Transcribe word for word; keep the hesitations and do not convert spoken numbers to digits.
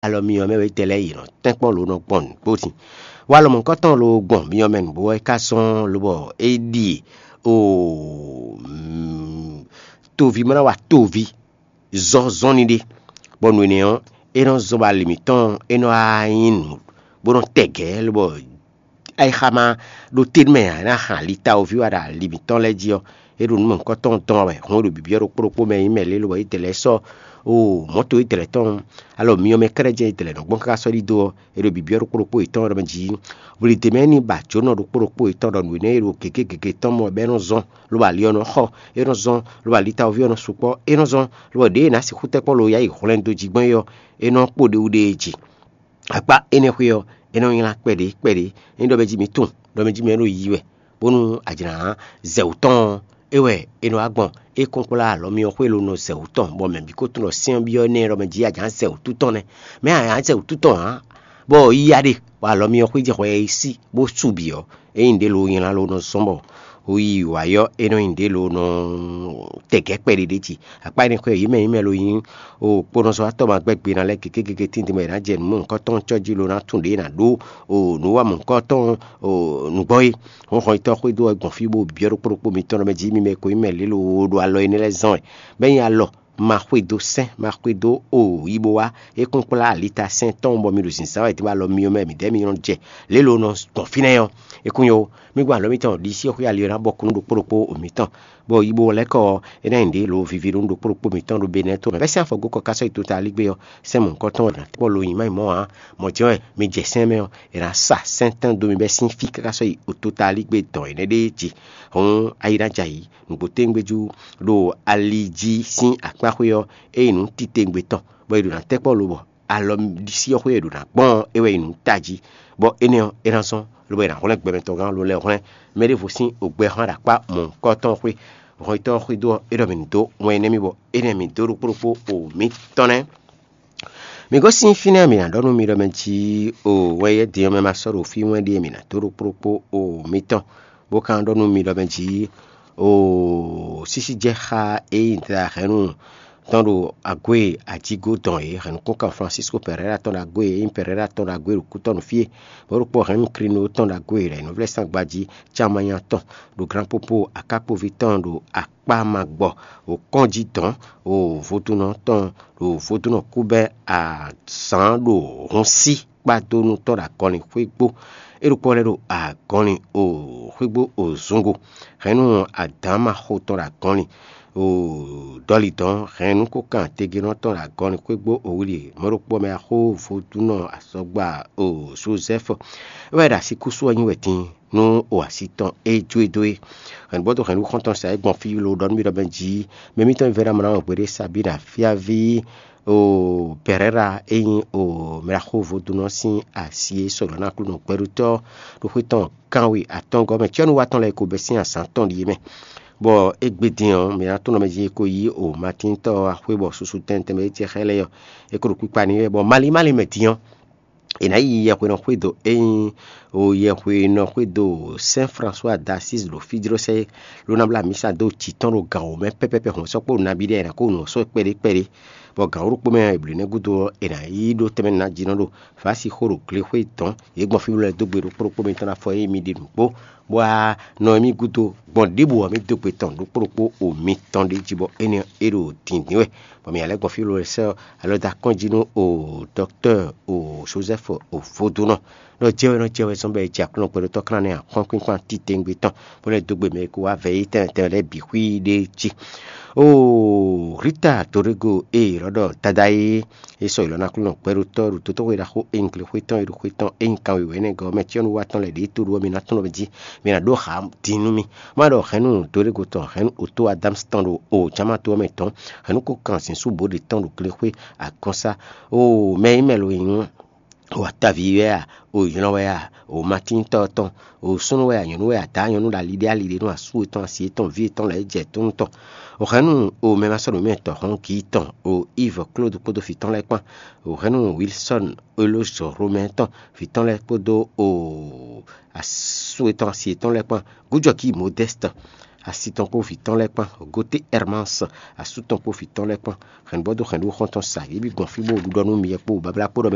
alɔ myɔ mɛ wɛ tɛ lɛ́ɛ yě nɔ tɛ́nkpɔ́n lǒ nɔ gbɔn nǔgbó din. Wá lɔ mɔ̌hunkɔtɔn ló gbɔn myɔ mɛ nǔgbó wɛ é ka zɔ́n lobɔ é ɖi o toví ma ná wa toví zɔ́nzɔ́nni ɖé, bɔ nǔ énɛ́ ɔ́, é nɔ zɔ́n bɔ ali mǐtɔn é nɔ wá nyí nǔ bó nɔ tɛgɛ̌ lobɔ ayixa ma ɖo te nú mɛ ǎ, é ná hɛn ali tawoví wá ɖo ali mǐtɔn lɛ́ɛ jí ɔ́, é ɖo nǔ mɔ̌hunkɔtɔn tɔn wɛ hɔn é ɖo bǐbíɔ́ ɖokpó ɖokpó mɛ nyí mɛ lě lobɔ é dɛ lɛ́ɛ sɔ́ o mɔ̌to é dɛ lɛ́ɛ tɔn alɔ myɔ mɛ kɛ́ɖɛ́ jɛ́n é dɛ lɛ́ɛ nɔ gbɔn káká sɔ́ ɖidó ɔ́, é ɖo bǐbíɔ́ ɖokpó ɖokpó yětɔn ɖɔ mɛ jí. Vlidě mɛ ní ba jǒnɔ ɖokpó ɖokpó yětɔn ɖɔ nǔ énɛ́ e ɖo gěgé gěgé tɔn mɔ bɔ é nɔ zɔ́n, lobo ali ɔ́ nɔ xɔ, é nɔ zɔ́n, lobo ali tawoví ɔ́ nɔ sukpɔ́, é nɔ zɔ́n, lobo ɖěe è nǎ sixú tɛ́ kpɔ́n lo yá yi hwlɛndo jí gbɔn é ɔ́, é nɔ kpo ɖe wú ɖe jí. Akpá énɛ́ xwé ɔ́, é nɔ nylá kpɛɖé kpɛɖé. Ényí ɖɔ mɛ jí mi tunwun ɖɔ mɛ jí mɛ ɖo yi wɛ, bónú a jlǎ zɛ wǔ tɔn ɔ́, é wɛ è nɔ wá gbɔn. É kɔn kplá alɔ myɔ xwé lo nɔ zɛ wǔ tɔn, bɔ mɛ bǐ ko tunwun ɖɔ sɛ́n ɔ́ byɔ́ énɛ́ ɖɔ mɛ jí a jǎ zɛ wǔ tutɔn nɛ́. Mɛ a jǎ zɛ wǔ tutɔn ǎ, bɔ yiya ɖe, bɔ alɔ myɔ xwé jɛ xwɛ e sí bó su bǐ ɔ́, ényí ɖě lo nylá lo nɔ zɔ́n bɔ o yi wǎ yɔ é nɔ nyi ɖě lo nɔ tɛgɛ́ kpɛɖé ɖé jí. Akpá énɛ́ xwé yě mɛ yě mɛ lo nyí o kponɔzɔ́watɔ́ ma gbɛ́ gbe ná lɛ́ɛ gěgé gěgé tíntin bɔ è nǎ jɛ nǔ mɔ̌hunkɔtɔn cɔ́ jí lo ná tunwun ɖě è nǎ ɖó o nǔ wa mɔ̌hunkɔtɔn o nǔgbɔn é. Hɔnhɔnyitɔ́ xwedó wɛ gbɔn fí bó byɔ́ ɖokpó ɖokpó mitɔn ɖɔ mɛ jí mi mɛ ko nyí mɛ lě lo ɖo alɔ énɛ́ lɛ́ɛ zán wɛ, bɔ é nyí alɔ ma xwedó sɛ́n, ma xwedó o yi bó wá. É kún kplá alita sɛ́n tɔn bɔ mi ɖo zǐnzán wɛ dín bɔ alɔ mi ɔ́ mɛ midɛɛ mi nɔ jɛ lě lo nɔ gbɔn fínɛ́ ɔ́. É kún nyɔ́ ó, mí gbɔn alɔ mitɔn ɖisí xwé ali ɔ́ ná bɔ kú nú ɖokpó ɖokpó o mitɔn, bɔ yi bó lɛ́ kɔ ɔ́, é ná nyi ɖě lo viví ɖó nú ɖokpó ɖokpó mitɔn ɖo Benɛ́ɛ to mɛ. Bɛ́ sín afɔgó kɔ ká sɔ́ yi tota ligbé ɔ́, sɛ́n mɔ̌hunkɔtɔn ɔ́ è nǎ kpɔ́ lo nyi má nyí mɔ̌ ǎ. Mɔ̌ jɛ́n wɛ mi jɛ sɛ́n mɛ ɔ́, è nǎ sa sɛ́n tɛ́n dó mi bɛ́ sín fí káká sɔ́ yi tota ligbé dɔn énɛ́ ɖéé jí. Hɔn ayi ná jɛ ayǐ, nǔgbó téŋgbéjú ɖo ali jí sín akpá xwé ɔ́, é nyí nǔ titewungbe tɔn, bɔ è ɖo ná tɛ́ kpɔ́ lobɔ alɔ ɖisí ɔ́ xwé e ɖo ná gbɔn ɔ́, é wɛ nyí nǔ tají, bɔ énɛ́ ɔ́, é ná zɔ́n, lobo è nǎ hwlɛ́n gbɛmɛ tɔn gán lo lɛ́ɛ hwlɛ́n. Mɛ ɖěvo sín ogbɛ hɔn ɖo akpá mɔ̌hunkɔtɔn xwé, hɔnyitɔ́ ɔ́ xwedó ɔ́, é ɖɔ mì nǔ dó wɛn énɛ́ mì bɔ énɛ́ mì dó ɖokpó ɖokpó o mǐtɔn nɛ́. Mi gosín fínɛ́ mǐ ná ɖɔ nú mi ɖɔ mɛ jí o wɛn yɛ́ din ɔ́ mɛ ma sɔ́ ɖo fí wɛn ɖíe mǐ ná dó ɖokpó ɖokpó o mitɔn, bó ka ɖɔ nú mi ɖɔ mɛ jí o sísí jɛ xá e nyi dla hɛ̌nnu tɔn ɖo agwé ajígó dɔn é, hɛ̌nnukúnkan Francisco Pereira tɔn ɖo agwé e nyí Pereira tɔn ɖo agwé ɖo kútɔ́ nú fí é, bɔ é ɖokpó hɛ̌nnu Krino tɔn ɖo agwé e ɖo nyǐvlɛ́sán gbají Camanya tɔn ɖo Gran Popo akákpoví tɔn ɖo akpá ma gbɔ ɖo kɔ́njí dɔn ɖo vodúnnɔ tɔn ɖo vodúnnɔ kú bɛ́ azǎn ɖo hun sí kpá dó nú tɔ́ ɖo agɔnlin xwé gbó. É ɖokpó lɛ́ ɖo agɔnlin o xwé gbó o zungo. Hɛ̌nnu adǎn ma xo tɔn ɖo agɔnlin o dɔlidɔn hɛ̌nnu kó kan tegenɔ tɔn ɖo agɔnlin xwé gbó o wli mɔ̌ ɖokpó mɛ axó vodúnnɔ asɔgba o Jozɛ́fu. É wɛ ɖo asíkúsú ɔ́ nyi wɛ din nú o asi tɔn e jó e dó é. Hɛ̌nnu bɔ dó hɛ̌nnu xɔ́ntɔn sa é gbɔn fí lo ɖɔ nú mì ɖɔ mɛ jí mɛ mitɔn e vɛ́ ná mɔ ná wɔn gbeɖé Sabina fíaví o Pɛrɛra e nyí o mɛɖaxó vodúnnɔ sín asi e sɔ́ ɖɔ ná Aklúnɔ gbɛɖutɔ́ ɖo xwé tɔn kanwe atɔ́ngɔ́ mɛ. Cyɔ́nú wa tɔn lɛ́ɛ ko bɛ́ sín azǎn tɔn ɖíe mɛ, bɔ égbé din ɔ́, mǐ ná tunwun mɛ jí é ko yí o Matíntɔ́ ɔ́ axwé bɔ susu tɛntɛn mɛ é jɛ xá ɛ lɛ́ɛ ɔ́, é ko ɖo kpikpa n'i wɛ, bɔ malín malín mɛ din ɔ́, è nǎ yi yɛhwenɔ xwédo e nyí o yɛhwenɔ xwédo Saint François d'Assise ɖo Fidrosɛ ló ná blá mǐsa dó jǐ tɔn ɖo gǎn wǒ mɛ pɛ́pɛ́pɛ́ hɔn sɔ́ kpó nabí ɖé è nǎ kó nǔ ɔ́ sɔ́ kpɛɖé kpɛɖé. Bɔ gǎn wǒ ɖokpó mɛ ɔ́, è blǒ nɛ́ gúdo ɔ́, è nǎ yi ɖó tɛnmɛ ná jí nɔ ɖo Vǎsi xó ɖo glexwé dɔ̌n. Yě gbɔn fí lɛ́ɛ dó gbe ɖokpó ɖokpó mitɔn ná fɔ ényí mi ɖi nǔgbó, bɔ a nɔ mì gúdo gbɔn ɖěbǔ ɔ́, mì dó gbe tɔn ɖokpó ɖokpó o mitɔn ɖé jí, bɔ énɛ́ ɔ́, é ɖo dǐndín wɛ. Bɔ mǐ lɛ́ gbɔn fí lɛ́ɛ sɛ́ alɔ dó akɔ́n jí nú o dɔktɔ́ o Josɛ́fu o vodúnɔ. Nɔ jɛ wɛ nɔ jɛ wɛ zɔn bɔ è jɛ Aklúnɔ gbɛɖótɔ́ klan nɛ́ axɔ́nkpínkpán titewungbe tɔn, bó lɛ́ dó gbe mɛ e ko wá vɛ yí tɛnmɛ tɛnmɛ lɛ́ɛ bǐ xwí ɖé jí. Oo Rita Dorego e è nɔ ɖɔ Dada é, é sɔ́ yi lɔ ná Aklúnɔ gbɛɖótɔ́ ɖo dotóxwé ɖaxó e nyí glexwé tɔn e ɖo xwé tɔn e nyí kanwewɛ́nɛgɔ́ ɔ́ mɛ cyɔ́nú wa tɔn lɛ́ɛ ɖě tó ɖu ɔ́, mi ná tunwun jí mi ná ɖó xá din nú mì. Má ɖɔ hɛ̌nnu Dorego tɔn, hɛ̌nnu Otó Adámsi tɔn ɖo o Jamato ɔ́ mɛ tɔn, hɛ̌nnu ko kan zǐn sú bǒ ɖě tɔn ɖo glexwé agɔ́nsá. Oo mɛ e nyí mɛ lo nyí o ataví wɛ a, o nylɔ wɛ a, o matíntɔ́ tɔn, o súnnu wɛ a, nyɔ̌nu wɛ a, dǎ nyɔ̌nu ɖo ali ɖé ali ɖé nú asú yětɔn, asi yětɔn, vǐ yětɔn lɛ́ɛ jɛ tónú tɔn. O hɛ̌nnu o mɛ ma sɔ́ nǔ mɛ tɔn hɔn gǐ tɔn, o Iv Klódu kpódó vǐ tɔn lɛ́ɛ kpán, o hɛ̌nnu Wilsɔ́n Elózɔ Romɛ́ɛ tɔn vǐ tɔn lɛ́ɛ kpódó o asú yětɔn, asi yětɔn lɛ́ɛ kpán, gújɔkí Modɛ́stɔ. Asi tɔn kpó vǐ tɔn lɛ́ɛ kpán, Goté Hermas, asú tɔn kpó vǐ tɔn lɛ́ɛ kpán, hɛ̌nnu bɔ dó hɛ̌nnu xɔ́ntɔn sa, yě bǐ gbɔn fí bó ɖiɖɔ nú mi kpó bablá kpó ɖɔ